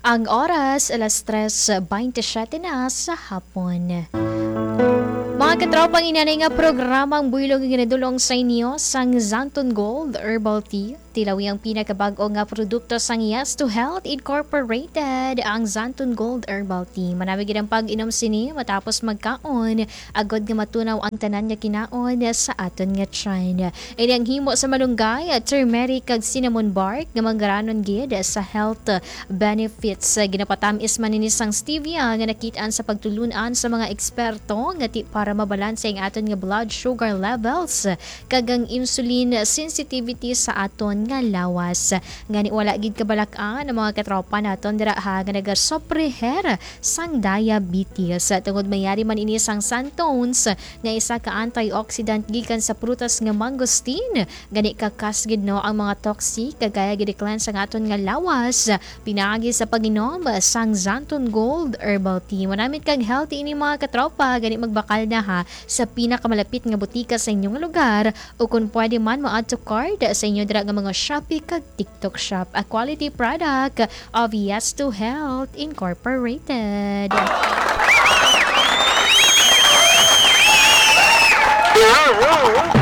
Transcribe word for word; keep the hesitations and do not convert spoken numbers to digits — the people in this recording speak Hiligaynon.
Ang oras, alas tres bentisiete na sa hapon. Mga katropa, ang inanay nga programang buylog nga ginadulong sa inyo sang Xanthone Gold Herbal Tea. Tilawi ang pinakabag-o nga produkto sang Yes to Health Incorporated, ang Xanthone Gold Herbal Tea. Manami gid ang pag-inom sini matapos magkaon, agod nga matunaw ang tanan nga kinaon sa aton nga tiyan. Ini ang himo sa malunggay, turmeric, kag cinnamon bark nga manggaranon gid sa health benefits. Ginapatamis man ini sang stevia nga nakit-an sa pagtulun-an sa mga eksperto nga ti para mabalanse ang aton nga blood sugar levels kag ang insulin sensitivity sa aton nga lawas. Gani, wala gid kabalak-an ang mga katropa naton dira ha nga nagasopre sang diabetes. Tungod mayari man ini sang xanthones nga isa ka antioxidant gikan sa prutas nga mangosteen, gani kakas gid, no, ang mga toxic kag kaya gid i-cleanse ang aton nga lawas pinaagi sa pag-inom sang Xanthone Gold Herbal Tea. Manamit kag healthy ini, mga katropa, gani magbakal na ha sa pinakamalapit nga butika sa inyong lugar, o kung pwede man, mo-add to cart sa inyo dira nga mga Shopee kag TikTok Shop. A quality product of Yes to Health Incorporated.